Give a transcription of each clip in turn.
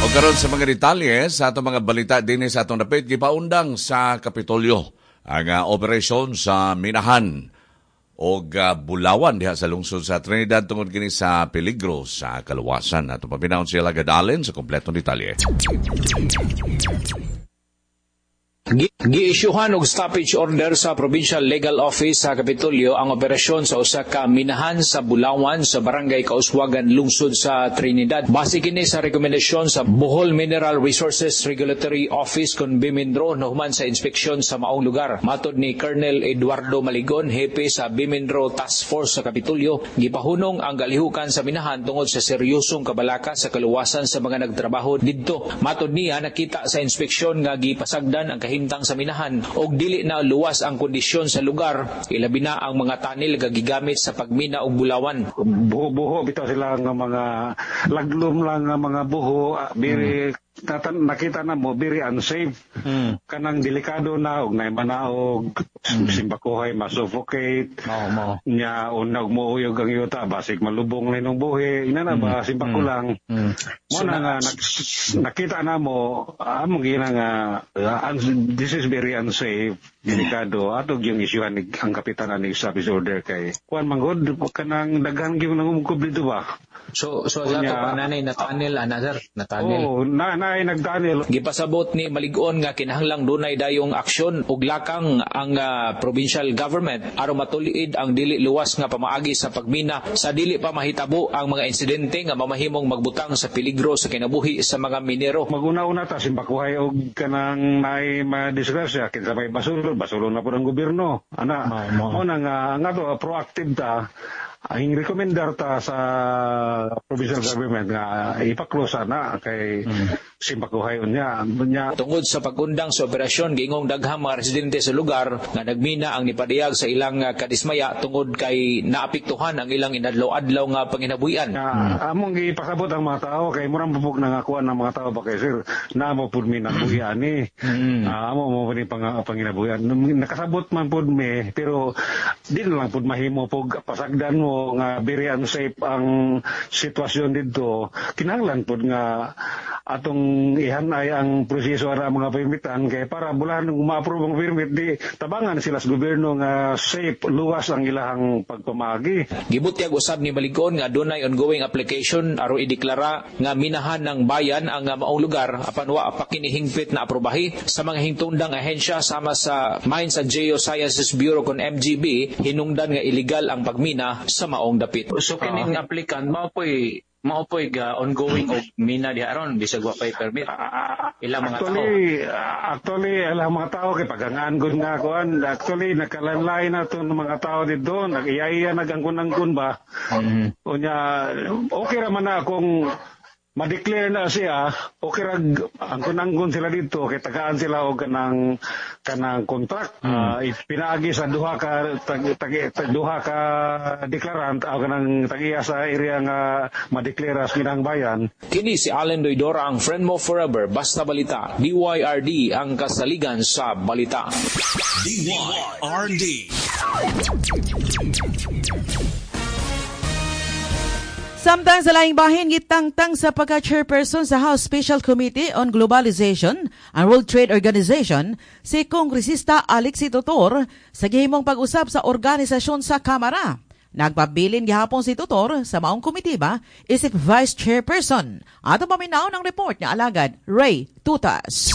O karon sa mga detalye sa atong mga balita dinhi sa atong dapit, gipaundang sa Kapitolyo ang operasyon sa minahan og Bulawan diha sa lungsod sa Trinidad tungod kini sa peligro sa kaluwasan. Ato paminawon siya Alagad Allen sa kompletong detalye. Giisyuhan og stoppage order sa Provincial Legal Office sa Kapitolyo ang operasyon sa usa ka minahan sa Bulawan sa Barangay Kauswagan, lungsod sa Trinidad. Base kini sa rekomendasyon sa Bohol Mineral Resources Regulatory Office kon Bimindro nahuman sa inspeksyon sa maong lugar. Matod ni Colonel Eduardo Maligon, hepe sa Bimindro Task Force sa Kapitolyo, gipahunong ang galihukan sa minahan tungod sa seryosong kabalaka sa kaluwasan sa mga nagtrabaho didto. Matod niya, nakita sa inspeksyon nga gipasagdan ang kahimtang sa minahan og dili na luwas ang kondisyon sa lugar, ilabi na ang mga tunnel nga gigamit sa pagmina og bulawan. Buho-buho bitaw sila nga mga laglom lang nga mga buho, biri nakita na mo very unsafe. Kanang delikado na og nay manaog, simbakuhay masuffocate. Mao. Nya unag mo uyog ang yuta basig malubong na inong buhi. Ina na ba simbako lang. Mo na nga nakita na mo among gina nga this is very unsafe, delikado. Ato gyung isyuhan ni ang kapitan ani stoppage order kay kuan manggod kanang daghan gyud nangumkob dito ba. So sa ato pa nanay na tunnel ana sir, na tunnel. Oh, na naay nagtunnel. Gipasabot ni Maligon nga kinahanglang dunay dayong aksyon ug lakang ang provincial government aron matuliid ang dili luwas nga pamaagi sa pagmina sa dili pa mahitabo ang mga insidente nga mamahimong magbutang sa peligro sa kinabuhi sa mga minero. Maguna-una ta simbakuhay og kanang naay madisgrasya kinsa may basulon, basulon na pud ang gobyerno. Ana, mo na nga to proactive ta. Ang rekomendar ta sa provincial government nga ipa-close na kay simbakuhay unya. Unya. Tungod sa pagundang sa operasyon, giingong daghang mga residente sa lugar nga nagmina ang nipadayag sa ilang kadismaya tungod kay naapektuhan ang ilang inadlaw-adlaw nga panginabuhian. Nga, among gipasabot ang mga tao kay murang pupok na nga kuan ng mga tao ba kay sir, naamo pud mi nabuhian ni. Amo mo ni panginabuhian. Nakasabot man pud mi pero di na lang pud mahimo pug pasagdan mo nga very unsafe ang sitwasyon didto. Kinahanglan pud nga atong ihanay ang proseso ara mga permitan kay para bulan ma-approve ang permit di tabangan sila sa gobyerno nga safe luwas ang ilahang pagpamagi. Gibutyag usab ni Maligon nga dunay ongoing application aron ideklara nga minahan ng bayan ang maong lugar apan wa pa kini hingpit na aprobahi sa mga hingtungdang ahensya sama sa Mines and Geosciences Bureau kon MGB hinungdan nga illegal ang pagmina sa maong dapit. So kining applicant mao po'y ga ongoing og mina diha aron bisag wa pay permit. Ilang mga tao. Actually ilang mga tao kay pagangaan gud nga kuan. Actually nakalanlay na to ng mga tao didto, nag-iyaya nagangkon-angkon ba. Unya okay ra man na kung ma-declare na siya, okay ra angkon-angkon sila dito kay tagaan sila og kanang contract. Pinaagi sa duha ka duha ka deklarant o kanang tag-iya sa area nga ma-declare as minang bayan. Kini si Allen Doydora, ang friend mo forever, basta balita. DYRD ang kasaligan sa balita. DYRD. Samtang sa laing bahin, gitangtang sa pagka-chairperson sa House Special Committee on Globalization and World Trade Organization, si Kongresista Alexi Tutor sa gihimong pag-usap sa organisasyon sa Kamara. Nagpabilin gihapon si Tutor sa maong komitiba isip Vice Chairperson. Ato paminaw ng report ni alagad Ray Tutas.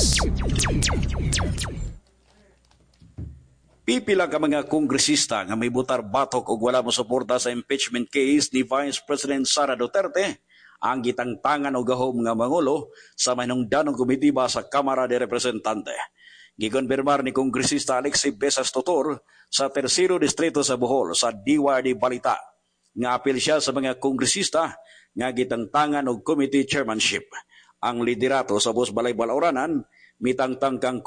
Pipila ka mga kongresista nga may butar batok og wala mosuporta sa impeachment case ni Vice President Sara Duterte ang gitangtangan og gahom nga mangulo sa mahinungdanong komitiba sa Kamara de Representante. Gikonfirmar ni Kongresista Alexei Besas Tutor sa Tersero Distrito sa Bohol sa DYRD Balita nga apil siya sa mga kongresista nga gitangtangan og committee chairmanship. Ang liderato sa Bos Balay Balauranan mitangtang kang